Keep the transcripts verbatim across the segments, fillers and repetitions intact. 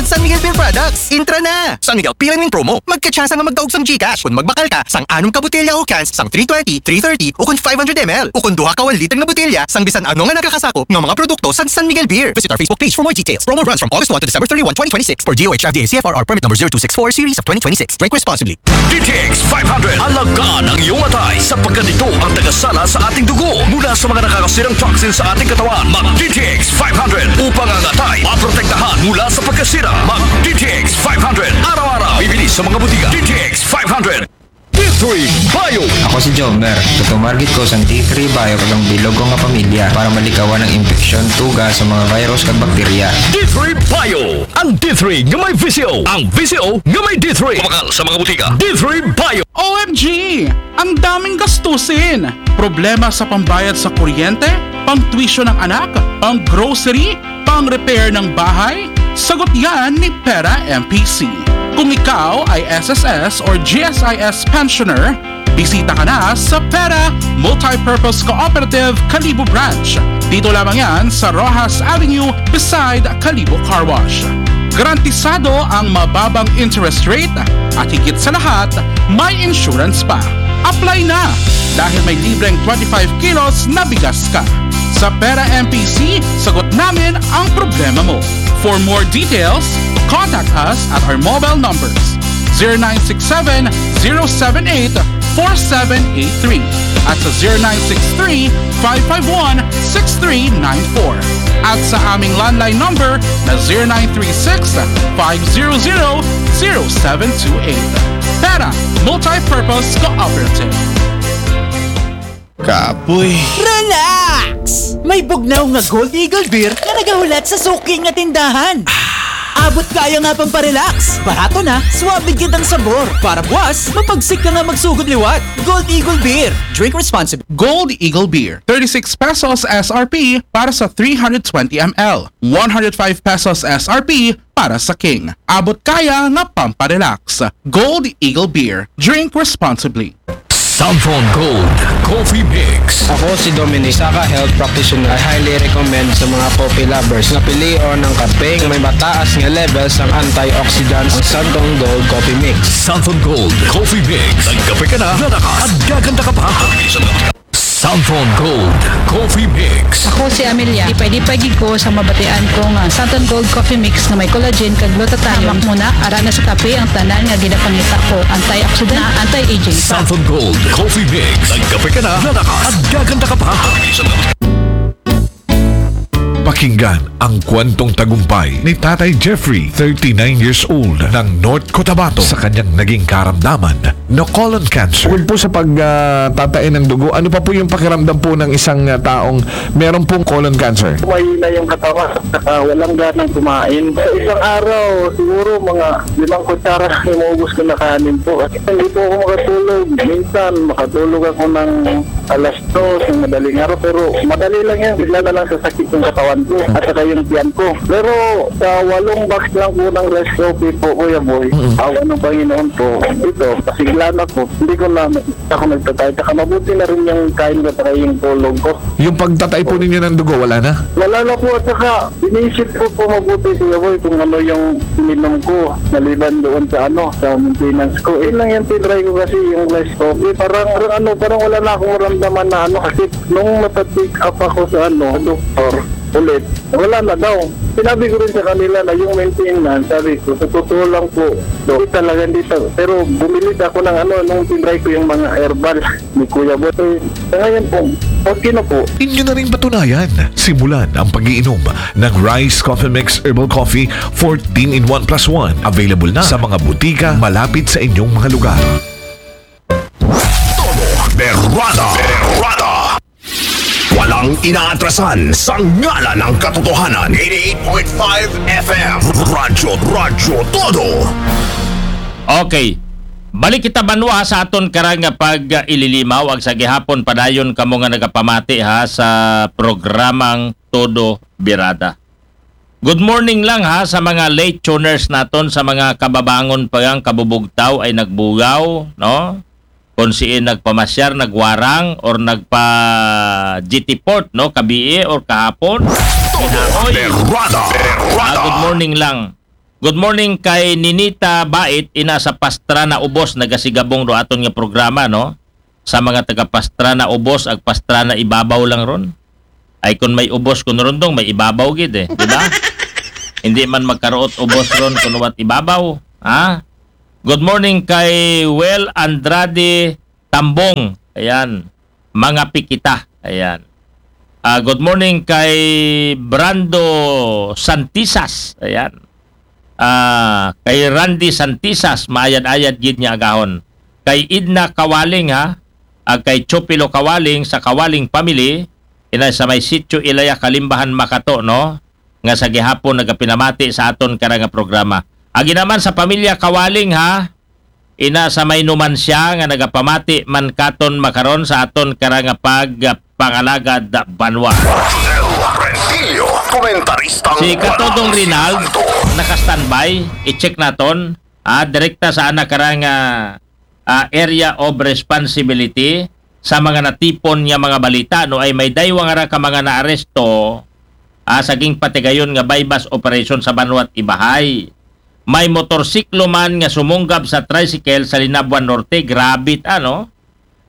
San Miguel Beer Products, intra na! San Miguel P L N Wing Promo. Magkatsansa nga magdaog sang GCash kun magbakal ka sang anom ka botelya o cans sang three twenty, three thirty, o kun five hundred M L, o kun duha ka one liter nga botelya sang bisan ano nga nakakasakop nga mga produkto sang San Miguel Beer. Visit our Facebook page for more details. Promo runs from August one to December thirty-one, twenty twenty-six, per D O H F D A C F R R permit number zero two six four, series of twenty twenty-six. Drink responsibly. D T X five hundred, alagaan ang iyong atay sapagkat ito ang tagasala sa ating dugo mula sa mga nakakasirang toxin sa ating katawan. Mag D T X five hundred upang ang atay maprotektahan mula sa pagkasira. Mag D T X five hundred araw-araw. Bibili sa mga butika. D T X five hundred. D three Bio. Ako si Jomer. Tutumarget ko sa D three Bio kag ang bilog ko nga pamilya para malikawan ang impeksyon, tuga sa mga virus kag bakterya. D three Bio. Ang D three nga may V C O. Ang V C O nga may D three. Kumakal sa mga butika. D three Bio. O M G! Ang daming gastusin! Problema sa pambayad sa kuryente, pang tuition ng anak, pang grocery, pang repair ng bahay? Sagot yan ni Pera M P C. Kung ikaw ay S S S or G S I S pensioner, bisita ka na sa Pera Multipurpose Cooperative Kalibo Branch. Dito lamang yan sa Rojas Avenue beside Kalibo Car Wash. Garantisado ang mababang interest rate at higit sa lahat, may insurance pa. Apply na dahil may libreng twenty-five kilos na bigas ka. Sa Pera M P C, sagot namin ang problema mo. For more details, contact us at our mobile numbers zero nine six seven, zero seven eight, four seven eight three at sa zero nine six three, five five one, six three nine four at sa aming landline number na zero nine three six, five zero zero, zero seven two eight. Pera Multipurpose Cooperative. Kapoy. Relax! May bugnaw nga Gold Eagle Beer nga nagahulat sa suki nga tindahan. Abot kaya nga pamparelax. Barato na, suabe gid ang sabor. Para buwas, mapagsik ka nga magsugod liwat. Gold Eagle Beer. Drink responsibly. Gold Eagle Beer, thirty-six pesos S R P para sa three hundred twenty M L, one hundred five pesos S R P para sa King. Abot kaya nga pamparelax. Gold Eagle Beer. Drink responsibly. Santhon Gold Coffee Mix. Ako si Dominic, isa ka health practitioner. I highly recommend sa mga coffee lovers na pilion ang kape may mataas nga levels ng antioxidants, ang Santhon Gold Coffee Mix. Santhon Gold Coffee Mix. Nagkape ka na, lalakas, at gaganda ka pa. Santhon Gold Coffee Mix. Ako si Amelia. Lipay-lipay gid ko sa mabatian ko nga Santon Gold Coffee Mix nga may collagen kag glutathione. Hamak mo na, ara na sa kape ang tanan nga ginapangita ko. Antioxidant, anti-aging. Santon Gold Coffee Mix. Nagkape ka na, lalakas, at gaganda ka pa. Pakinggan ang kwentong tagumpay ni Tatay Jeffrey, thirty-nine years old, ng North Cotabato sa kanyang naging karamdaman na colon cancer. Bukod po sa pagtatay ng dugo, ano pa po yung pakiramdam po ng isang ah, taong meron pong colon cancer? Mahina yung katawan, saka walang ganang kumain. Sa isang araw, siguro mga limang kutsara lang yung maubos ko na kanin po. Kasi hindi po ako makatulog. Minsan, makatulog ako ng alas dos ng madaling araw. Pero madali lang yan. Bigla na lang sasakit yung katawan ko at saka yung tiyan ko. Pero sa walong box lang po ng rice coffee po, Kuya Boy, awa ng Panginoon po, ito, pasigla na po. Hindi ko na ako nagtatay. Saka mabuti na rin yung kain ko at saka yung tulog ko. Yung pagtatay po ninyo ng dugo, wala na? Wala na po at saka inisip ko po mabuti, Kuya Boy, kung ano yung ininom ko maliban doon sa ano, sa maintenance ko. Yun lang yung tinry ko kasi yung rice coffee. Parang, parang ano, parang wala na akong maramdaman na ano kasi nung napa-check up ako sa ano, sa doktor ulit, wala na daw. Sinabi ko rin sa kanila na yung maintenance, sabi ko, sa totoo lang po, do, talaga hindi ta-, pero bumili ako ng ano, nung tinry ko yung mga herbal ni Kuya Boy. Sa ngayon po, okay na po. Inyo na rin patunayan. Simulan ang pag-iinom ng Rice Coffee Mix Herbal Coffee fourteen in one plus one. Available na sa mga butika malapit sa inyong mga lugar. Todo Berada. Berada. Walang inaatrasan sa ngalan ng katotohanan. Eighty-eight point five F M. Radyo, Radyo Todo. Okay. Balik kita banwa sa aton karang nga pag-ililimaw ag sa gihapon padayon kamo nga nagapamati ha sa programang Todo Birada. Good morning lang ha sa mga late tuners naton, sa mga kababangon pa ang kabubugtaw ay nagbugaw, no? Kung siin nagpamasyar, nagwarang, or nagpa G T Port, no? Kabii or kahapon. Hinaoy. Berada. Ah, good morning lang. Good morning kay Ninita Bait, ina sa Pastrana Ubos, nagasigabong do aton nga programa, no? Sa mga taga Pastrana Ubos, ag Pastrana Ibabaw lang ron. Ay, kung may ubos, kung rondong, may ibabaw gid eh, di ba? Hindi man magkaruot ubos ron, kung wat ibabaw, ha? Good morning kay Well Andrade Tambong. Ayan. Mga pikita. Ayan. Ah, good morning kay Brando Santisas. Ayan. Ah, kay Randy Santisas, maayad-ayad gid niya agahon. Kay Idna Kawaling, ha, ag kay Chopilo Kawaling sa Kawaling family, ina sa may sitio Ilaya, Kalimbahan, Makato, no? Nga sa gihapon nagapinamati sa aton kara nga programa. Agi naman sa pamilya Kawaling, ha, ina sa may numansya nga nagapamati man katon makaron sa aton kara nga pagpangalagad banwa. Rentillo, komentaristang Si Katodong Rinald naka-standby, i-check naton. Ah, direkta sa anak karang ah, ah, area of responsibility sa mga natipon nga mga balita, no, ay may daywa nga ra ka mga naaresto ah, sa gingpatigayon nga buy-bust operation sa Banwat Ibahay. May motorsiklo man nga sumunggab sa tricycle sa Linabuan Norte, grabe, ano?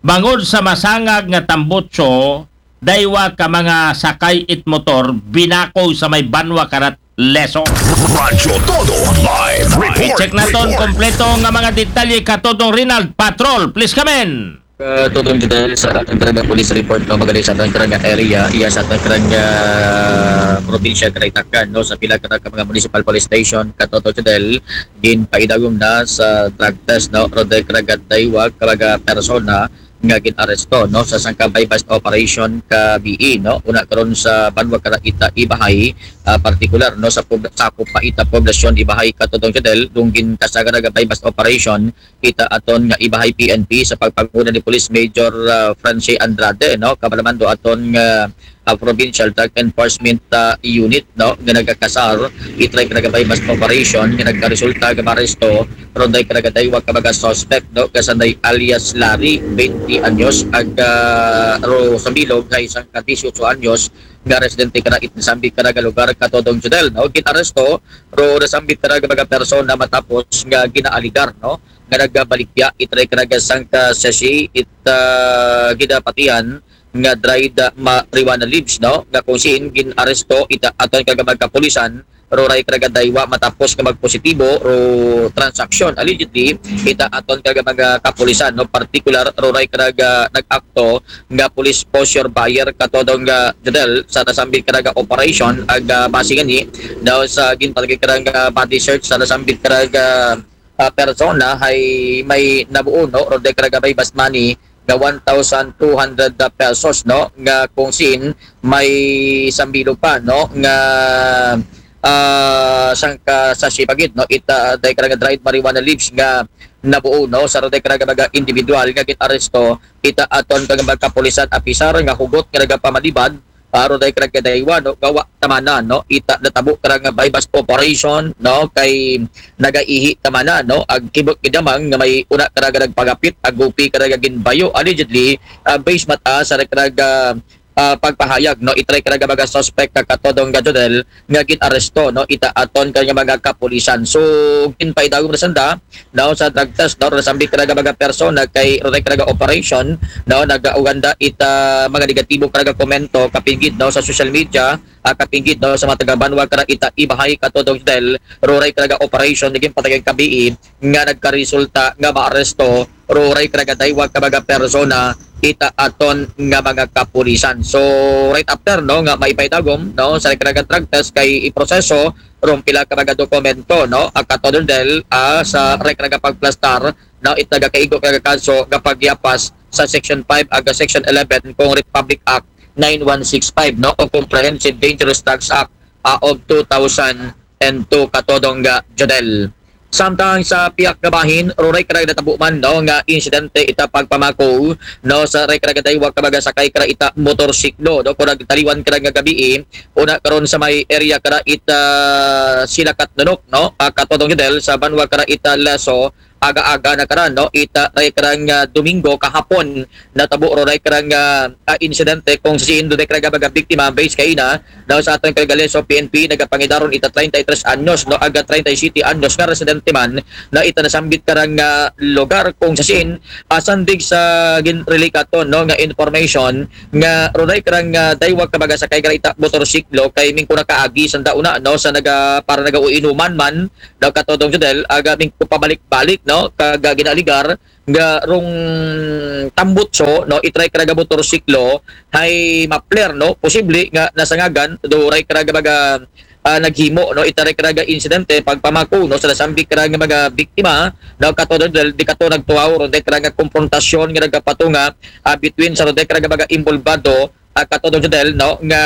Bangod sa masangag nga tambutso, daywa ka mga sakay it motor binakog sa may Banwa Karat, Leso. Radyo Todo Live Report. Check naton Report. Kompleto nga mga detalye, Katodong Rinald. Patrol, please come in. Katodong Jodel, sa atong karang nga police report, no, magaling sa atong karang nga area, iya sa atong karang nga probinsya, karang Itacan, no, sa pila karang ka mga municipal police station, Katodong Jodel, ginpaidagom na sa drug test, no, ro day karang nga daywa ka mga persona nga ginaresto, no, sa sangka buy-bust operation ka B E, no, una karon sa Banwa Karaita, Ibahay, ah, partikular, no, sa pub- sakop pa ita poblasyon Ibahay, Katodong Jodel, dunggin kasagara nga buy-bust operation, ita aton nga Ibahay P N P sa pagpanguna ni Police Major ah, Francie Andrade, no, kabalamando aton nga ah, Provincial Drug Enforcement ah, Unit, no, nga nagakasar itray karang nga buy-bust operation nga nagkaresulta nga maresto ro day karang nga daywa ka mga suspect, no, kasanday alias Larry, twenty anyos, ag ah, ro sa bilog hay sangka dieciocho anyos nga residente kara it nasambit karang nga lugar, Katodong Jodel, no, ginaresto ro nasambit karang nga mga persona matapos nga ginaaligar, no, nga nagabaligya itray karang nga sangka sachet it ah, gidapatihan nga dried ah, marijuana leaves, no, nga kung siin ginaresto ita aton karang nga mga kapulisan ro ray karang nga daywa matapos nga magpositibo ro transaksyon, allegedly, ita aton karang nga mga kapulisan, no, partikular ro ray karang nga nag-akto nga police poseur buyer, Katodong nga Jodel, sa nasambit karang nga operation, ag ah, base ngani daw sa ginpatagay karang nga body search sa nasambit karang nga ah, persona hay may nabuo, no, ro day karang nga buy-bust money nga one thousand two hundred pesos, no, nga kung siin may sambilog pa, no, nga ah, sangka sachet pa gid, no, ita day karang nga dried marijuana leaves nga nabuo, no, sa ro day karang nga mga individual nga ginaresto ita aton karang nga mga kapulisan apisar nga hugot nga nagapamalibad, ah, ro day karang nga daywa, no, gawa tamana, no, ita natabo karang nga buy-bust operation, no, kay nagaihi tamana, no, ag kibot gid damang nga may una karang nga nagpagapit, ag gupi karang nga ginbayo, allegedly, ah, base mata sa karang nga ah, pagpahayag, no, itray karang nga mga suspect, Katodong nga Jodel, nga ginaresto, no, ita aton karang nga mga kapulisan. So ginpaidagom na sanda, no, sa drug test, no, ro nasambit karang nga mga persona kay ro day karang nga operation, no, nagauganda ita mga negatibo karang nga komento kapin gid, no, sa social media, ah, kapin gid, no, sa mga taga Banwa karang ita Ibahay, Katodong Jodel, ro ray karang nga operation nga ginpatagay ka B E nga nagkaresulta nga maaresto ro ray karang nga daywa ka mga persona ita aton nga mga kapulisan. So right after, no, nga maipaidagom, no, sa ray karang nga drug test kay iproseso ron pila ka mga dokumento, no, ang Katodong Jodel, ah, sa ray karang nga pagplastar, no, it nagakaigo karang nga kaso nga pagyapas sa Section five ag Section eleven kung Republic Act nine one six five, no, o Comprehensive Dangerous Drugs Act ah, of two thousand and two, Katodong nga Jodel. Samtang sa pihak nga bahin, ro ray karang nga natabo man, no, nga insidente ita pagpamako, no, sa ray karang nga daywa ka mga sakay karang ita motorsiklo, no, kung nagtaliwan karang nga gabi, una karon sa may area karang ita Silakat, Nonok, no, ah, Katodong Jodel, sa Banwa karang ita Leso, aga-aga na karan, no? Ita, ray karang, ah, Domingo kahapon, natabo ro ray karang, ah, ah, insidente kung saan do ray karang baga biktima base kaina, no? Sa aton karang Lezo P N P, nagapangidaron ita treinta y tres anyos, no? Aga treinta y siete anyos nga residente man, no? Ita nasambit karang, ah, lugar kung saan, ah, sandig sa ginrelikaton, no? Nga information, nga ro ray karang, ah, daywa ka baga sakay kara ita motorsiklo kay mingko nakaagi sanda una, no? Sa naga, para nagauinuman man, no, katodong Jodel, aga mingko pabalik-balik, no, kaga ginaaligar nga rong tambutso, no, itray karaga motorsiklo, hay mapler, no, posible nga nasangagan do ray karaga baga, ah, naghimo, no, itray karaga insidente pagpamako, no, sa nasambit karaga mga biktima, no, katodong Jodel, di kato nagtuaw ron day karaga komprontasyon nga nagapatunga, ah, between sa ron day karaga baga involvado, ah, katodong Jodel, no, nga,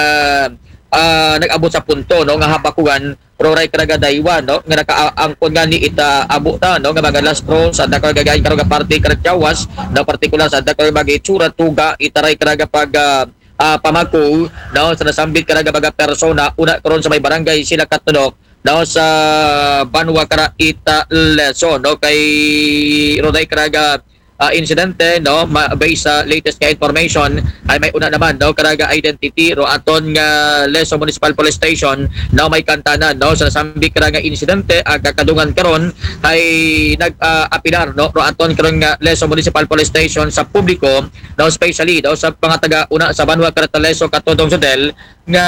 ah, nag-abot sa punto, no, nga habakugan ro ray karaga daywa, no, nga nakaangkon nga ni ita abo na, no, nga mga lastro sa dako gagay karaga parte karaga Jawas, no, partikular sa dako mga itsura tuga itaray karaga pag, ah, ah, pamako, no, sa nasambit karaga baga persona una karon sa may barangay sila Katunok, no, sa banwa kara ita Lezo, no, kay ro day karaga, ah, insidente, no, ma-, based sa latest nga information, ay may una naman, no, karaga identity ro aton nga Lezo Municipal Police Station, no, may kantanan, no, sa nasambit karaga insidente, ang kakadungan karon ay nag, ah, apilar, no, ro aton karon nga Lezo Municipal Police Station sa publiko, no, especially, no, sa mga taga una sa banwa kara ita Lezo katodong Jodel, nga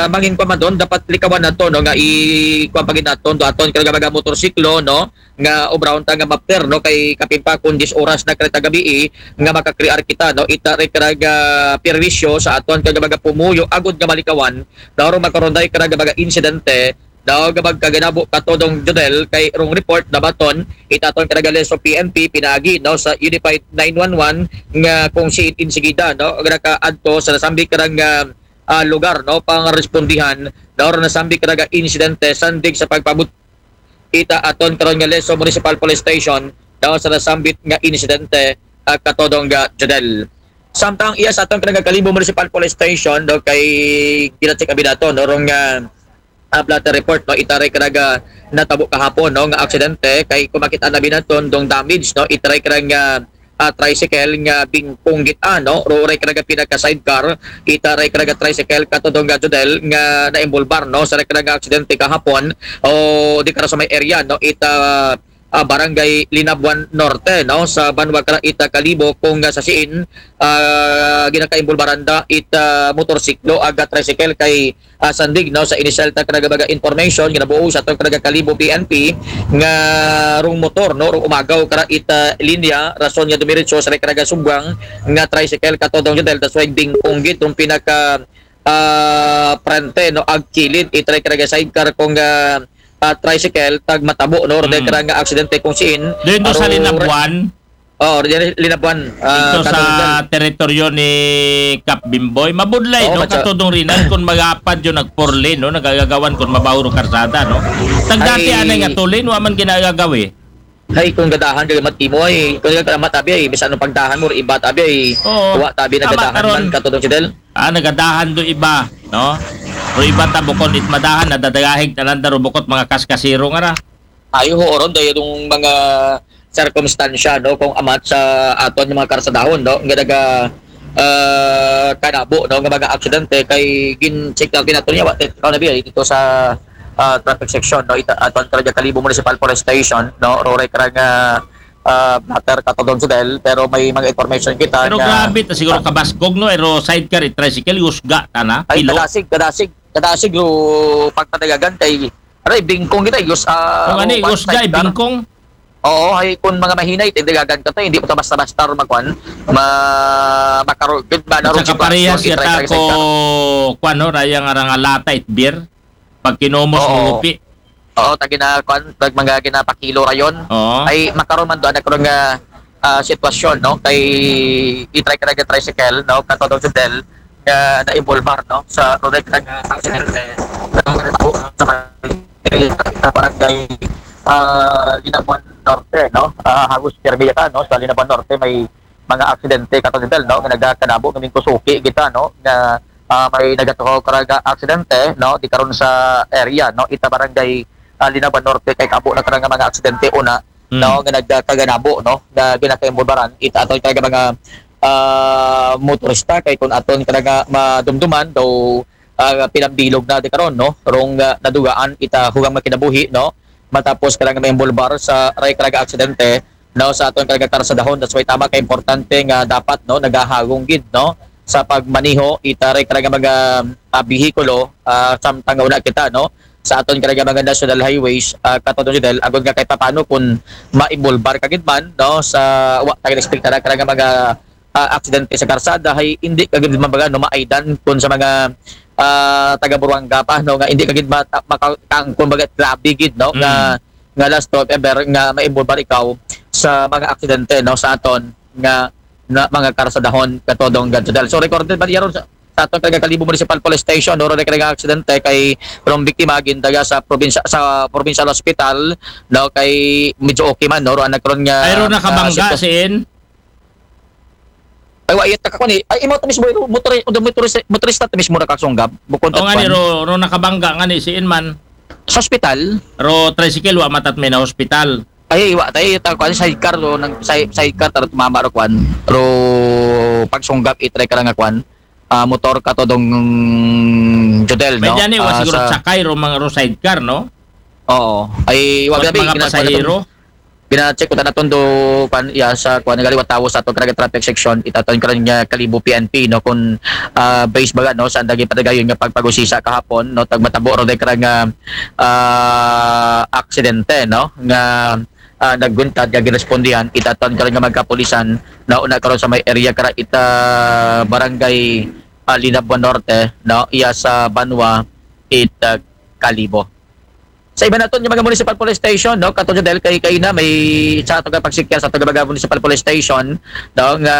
mangin pa man doon, dapat likawan nato, no, nga i-, kuwan pa gid naton do aton karaga baga motorsiklo, no, nga obrahon ta nga mapler, no, kay kapin pa kung diyes oras na kara ita gabii, nga makakrear kita, no, ita ray karaga perwisyo sa aton karaga baga pumuyo agud nga malikawan, no, ro makaron day karaga baga insidente, no, nga magkaginabo katodong Jodel kay rong report na baton ita aton karaga Lezo P N P pinaagi, no, sa Unified nine one one nga kung saan insigida, no, nakaadto sa nasambit karang, ah, ah, lugar, no, pangarespondihan, no, ro nasambit karaga insidente sandig sa pagpabut ita aton karon nga Lezo Municipal Police Station, no, sa nasambit nga insidente, ah, katodong nga Jodel. Samtang iya sa aton karon nga Kalibo Municipal Police Station, no, kay ginacheck abi nato, no, rong, ah, ah, blotter report, no, itaray karaga natabo kahapon, no, nga aksidente kay kumakit-an abi naton dong damage, no, itaray karaga, ah, tricycle nga bingkong gid-an, no, ro ray karaga pinaka sidecar, itaray karaga tricycle katodong nga Jodel nga naimbolbar, no, sa ray karaga aksidente kahapon o di kara sa may area, no, ita, ah, Barangay Linabuan Norte, no, sa banwa kara ita Kalibo kung, ah, sa siin, ah, ginakaimbulbaran da ita motorsiklo aga tricycle kay, ah, sandig, no, sa initial ta karaga baga information nga nabuo sa atong karaga Kalibo P N P nga rong motor, no, rong umagaw kara ita linya rason nga dumiretso sa karaga subwang nga tricycle katodong Jodel, that's why bingkong gid rong pinaka, ah, prente, no, agkilid itaray karaga sidecar kung, ah, ah, tricycle tag matabo, no, ro day karaga aksidente kung siin. Doon to sa Linabuan? Oh, Linabuan, ah, ito sa teritoryo ni Kap Bimboy. Mabudlay, no? Katodong Rinal, kung magapad yung nag-four lane, no? Nagagagawan kung mabaho ro karsada, no? Tagdati anay nga two lane, wa man ginagagawi. Hay, kung gadahan ka matimo ay, kung ka matabi ay, bisan anong pagdahan mo, iba tabi ay, wa tabi nagadahan man, katodong Jodel. Ah, nagadahan do iba, no? Pero iba ta bukod it madahan, nadadagahig na lang daro bukod mga kaskasiro nga ra. Ay, oo, ron, dahil yung mga sirkumstansya, no, kung amat sa aton yung mga karsadahon, no, nga naga, ah, kanabo, no, nga mga aksidente kay gin-check na ginato niya, wa, ikaw na biya, dito sa, ah, traffic section, no, ita, aton karaga Kalibo Municipal Police Station, no, ro ray karang, ah, ah, blotter katodong Jodel, pero may mga information kita. Pero na grabe ta siguro kabasgog, no, ero sidecar, it tricycle, usga ta na, ay, kilo. Kadasig, kadasig, kadasig, ro pagpadagagan kay Aray, bingkong kita, yus, ah, kung ani, one usgay, side car. Bingkong. Oo, ay, kung mga mahinay, tindigagan ka to, hindi mo to basta-basta ro magkuan, ma-, makarugid ba na ro sitwasyon, parehas yata itry-try ko, sa car. Kuan, no, rayang arang alata, it beer, pag kinumos, oo, mo upi. Oo, tagi na, kuan, tag mga ginapakilo rayon. Oo. Ay, makaroon man doon, nagkaroon nga, ah, sitwasyon, no, kay itry ka nag-tricycle, no, katodong Jodel, nga na-involvar, no, sa ro ray karang aksidente. Sa barangay, ah, Linabuan Norte, no? Ah, halos pirmi yata, no? Sa Linabuan Norte may mga aksidente katong Jodel, no? Nga nagkanabo nga mingko suki kita, no? Nga, ah, may nagatuhaw karaga aksidente, no? Di karon sa area, no? Ita barangay, ah, Linabuan Norte kay kaabo na karang mga aksidente una Mm. no, nga nagkaganabo, no, nga ginakaimbulbaran ita aton karaga mga ah, motorista, kay kun aton karaga madumduman daw ah, pinambilog na di karon, no, rong ah, nadugaan ita hugang mga kinabuhi, no, matapos karaga maimbulbar sa ray karaga aksidente, no, sa aton karaga karsadahon. That's why tama ka importante nga dapat, no, nagahagong gid, no, sa pagmaneho ita ray karaga mga ah, behikulo ah, samtang una kita, no, sa aton karaga mga national highways, ah, Kato Jodel, agod nga kay papano kun maimbulbar ka gid man, no, sa wa ta expect na karaga mga ah, aksidente sa karsada, hay hindi ka gid man baga, no, maaydan kun sa mga ah, taga Buruanga pa, no, nga hindi ka gid mata- makakaangkon baga, grabe gid, no, nga Mm. nga last of ever nga maimbulbar ikaw sa mga aksidente, no, sa aton nga na mga karsadahon, Katodong Jodel. So recorded ba niya ron sa, sa aton karaga Kalibo Municipal Police Station, no, ron karaga aksidente kay rong biktima gindaga sa probinsya, sa provincial hospital, no, kay medyo okay man, no, ron nagkaroon nga Ay, ron ah, nakabangga sitwasyon. Siin? Ay, wa, iyat ka ni. Ay, imo to mismo, motor, motor, motorista to mismo nakasunggab. Bukod O nga ni, ron, ron nakabangga nga ni siin man. Sa hospital? Ro tricycle, wa matat may na hospital. Ay, wa tayo, ta kuan, sidecar, ro, nang side, sidecar, taro tumama, ro kuan, ro pagsunggab, itry ka lang nga kuan, ah, motor Katodong Jodel, no? Medyan ni, wa Ah, siguro sa sakay, ro mga ro sidecar, no? Oo. Ay, wa Wa grabe, mga gina-, pasahero? Gina-check ko tanaton do, kuan, ya, sa kuan, nagaliwat tawo sa aton karaga traffic section, itaton karon nga Kalibo P N P, no, kung ah, base baga, no, sa andang patagayon nga pagpagusisa kahapon, no, tagmatabo ro day kara nga ah, aksidente, no, nga ah, nagguntad nga girespondihan itaton karon nga magkapulisan, no, una karon sa may area kara ita barangay ah, Linabuan Norte, no, iya sa Banwa, ita Kalibo. Sa iba naton nga mga municipal police station, no, Kato Jodel, kay kaina may sa ato nga pagsikya sa ato nga mga municipal police station, no, nga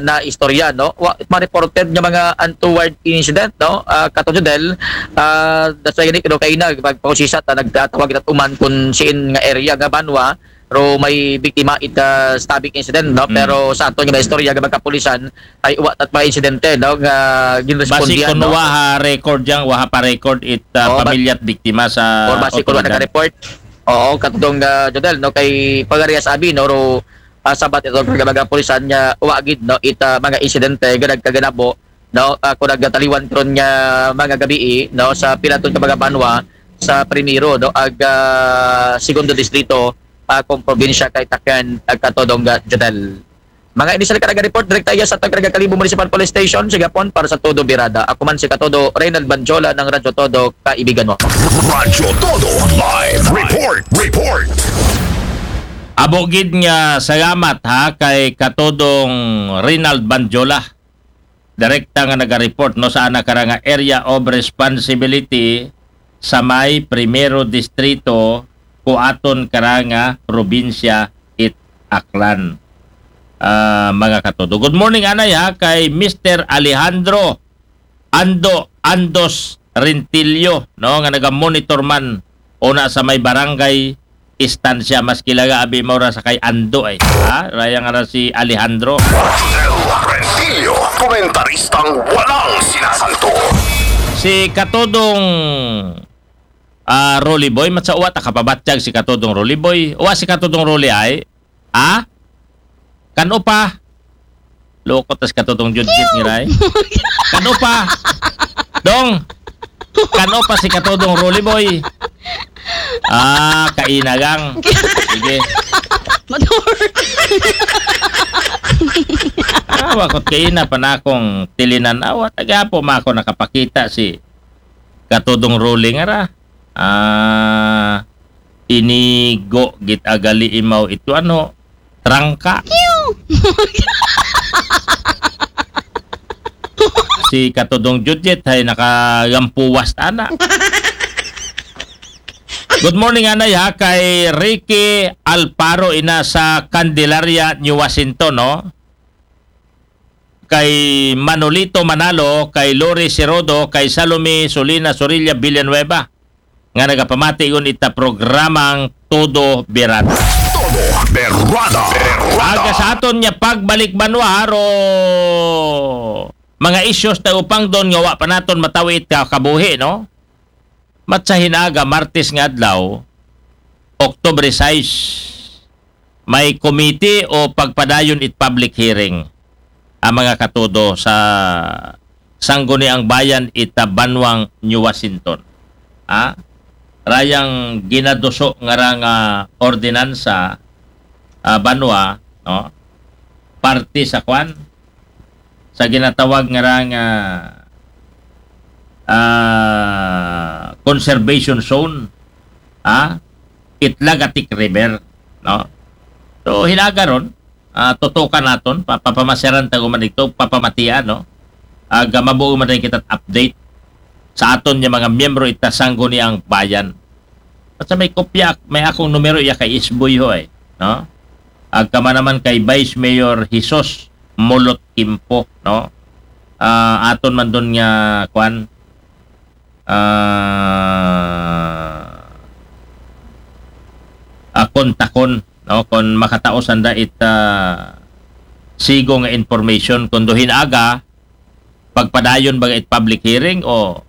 na istorya, no, wa ma-reported nga mga untoward incident, no, ah, Kato Jodel. Ah, that's why gani, no, kaina pagpausisa ta nagtatawag ita uman kun siin nga area nga Banwa ro may biktima ita stabbing incident, no. Mm. Pero sa aton nga istorya nga magkapulisan, ay wa tat mga insidente, no, nga Basi ginrespondihan, kun no? Wa ha record yang, wa ha pa record it ah, Oo, ba- pamilya at biktima sa Or basi kun wa otoridad. Naka-report. Oo, Katodong ah, Jodel, no, kay pagarias abi, no, ro ah, sabat ito nga mga pulisan nga wa gid, no, ita mga insidente nga nagkaganabo, no, ah, kun nagataliwan karon nga mga gabii, no, sa pilaton ka mga Banwa sa primero, no, ag ah, segundo distrito, ah, kung probinsya kay Tacna, ah, Katodong ah, Jodel. Mga initial karaga report, direkta iya sa Tagkaraga Kalibo Municipal Police Station, sa Gapon, para sa Todo Birada. Ako man si Katodo, Reynald Banjola ng Radyo Todo, kaibigan mo. Radyo Todo, live report, report. Abo gid nga salamat ha kay Katodong Reynald Banjola. Direkta nga naga-report, no, sa ana kara nga area of responsibility sa may primero distrito ko aton kara nga probinsya it Aklan. Ah, mga katodo. Good morning, anay, ha, kay Mister Alejandro Ando Andos Rentillo, no, nga naga-monitor man una sa may barangay Estancia. Mas kilaga abi mao ra sa kay Ando, ay. Ha? Raya nga ra si Alejandro. Rentillo, komentaristang walang sinasanto. Si Katodong ah, Rolly Boy, matsa uwa ta kapabatyag si Katodong Rolly Boy. Uwa si Katodong Rolly ay, ah? Kano pa? Loko tas Katodong Judgit ni Ray. Kano pa? Dong! Kano pa si Katodong Rolly Boy? Ah, kainagang. Sige. Matur. Ah, wakot kaina pa na akong tilinan. Awa, tagapo ma ako nakapakita si Katodong Rolly nga ra. Ah, inigo git agali imaw ito ano, trangka. Si Katodong Judgit ay nakagampuwas tana. Good morning, anay, ha, kay Ricky Alparo, ina sa Candelaria, New Washington, no? Kay Manolito Manalo, kay Lori Sirodo, kay Salome Solina Sorilla Villanueva, nga nagapamati gun ita programang Todo Berada. Todo Berada. Berada. Aga sa aton nga pagbalik banwa, ro mga issues ta upang don nga wa pa naton matawid ka kabuhi, no? Matsa hinaga, Martes nga adlaw, Oktubre sais, may committee o pagpadayon it public hearing, a, mga katudo, sa Sangguniang Bayan ita banwang New Washington. Ha? Rayang ginaduso nga ra nga ordinansa, a, banwa, no? Parte sa kwan, sa ginatawag nga ra nga, a, conservation zone, ha? It Lagatik River, no? So, hinaga ron, a, tutukan naton, pa-, papamasyaran ta guman ito, papamatian, no? Aga mabuo man rin kita update sa aton nga mga miyembro ita Sangguniang Bayan. At sa may kopya, may akong numero iya kay Isboy ho, eh, no? Agka man naman kay Vice Mayor Jesus Mulot Kimpo, no? A, aton man dun nga, kwan, a, a, kontakon, no? Kung makataosan da it, a, sigo nga information, kung duhin aga, pagpadayon baga it public hearing o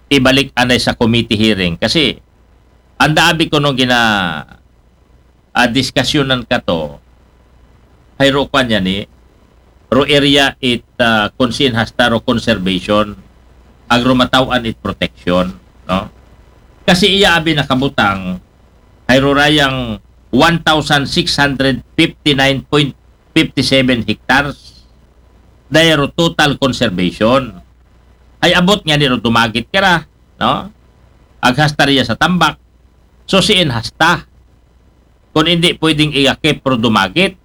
ibalik anay sa committee hearing. Kasi, anda abi ko nung gina, a, diskasyonan ka to, hay ro kwan yan eh, ro area it, a, kung sin hasta ro conservation, agro matawan it protection, no? Kasi iya abi nakabutang, hay ro rayang one thousand six hundred fifty-nine point fifty-seven hectares. Dahil ro total conservation. Ay abot nga ni ro dumagit ka ra, no? Aghasta riya sa tambak. So, siin hasta. Kung hindi pwedeng iakip pero dumagit,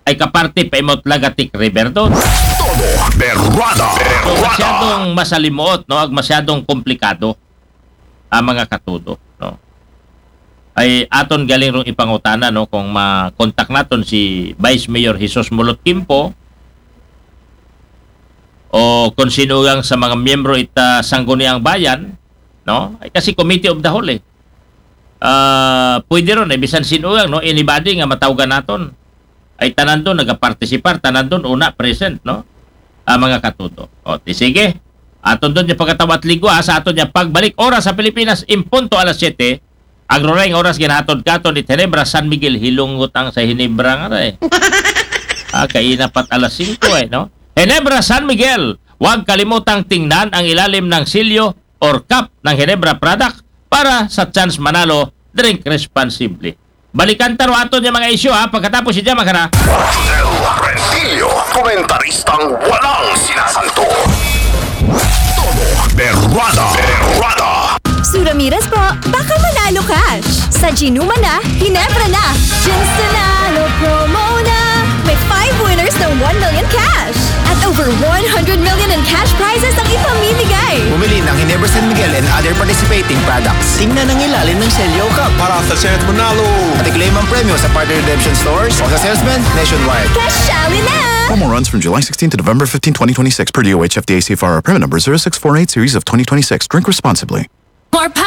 ay kaparte pa imot Lagatik River doon. Todo berwada. So, Berwada. masyadong masalimuot, no? Ag masyadong komplikado ang mga katudo, no? Ay aton galing rong ipangutana, no? Kung ma-contact naton si Vice Mayor Jesus Mulot Kimpo o kung sinugang sa mga miyembro ita Sangguniang Bayan, no? Ay kasi Committee of the Whole, eh. A, pwede ron, eh, bisan sinugang, no? Anybody nga matawgan naton. Ay tanan doon nagapartisipar, tanan doon una present, no? A, mga katudo. O, ti sige. Aton doon niya pagkatawat ligwa sa aton niya pagbalik oras sa Pilipinas, impunto alas siyete. Agroray nga oras ginahatod katon it Ginebra San Miguel, hilungot ang sa Ginebra nga na eh. A, kaina pat alas singko eh, no? Ginebra San Miguel, huwag kalimutang tingnan ang ilalim ng silyo or cap ng Ginebra product para sa chance manalo. Drink responsibly. Balikan ta ro aton niya mga isyu ha, pagkatapos si Jama Kara. Del Rentillo, komentaristang walang sinasanto. Todo berwada. Berwada. Sue Ramirez po, baka manalo cash. Sa Ginuma na, Ginebra na. Ginsunalo promo na. May five winners ng one million cash. At over one hundred million in cash prizes ang ipamimigay. Bumili ng Ginebra San Miguel and other participating products. Tingnan ang ilalim ng selyo cup para sa chance manalo. At i-claim ang premyo sa partner redemption stores o sa salesman nationwide. Kasali na! Promo runs from July sixteenth to November fifteenth, twenty twenty-six, per D O H F D A C F R, permit number zero six four eight series of twenty twenty-six. Drink responsibly. More power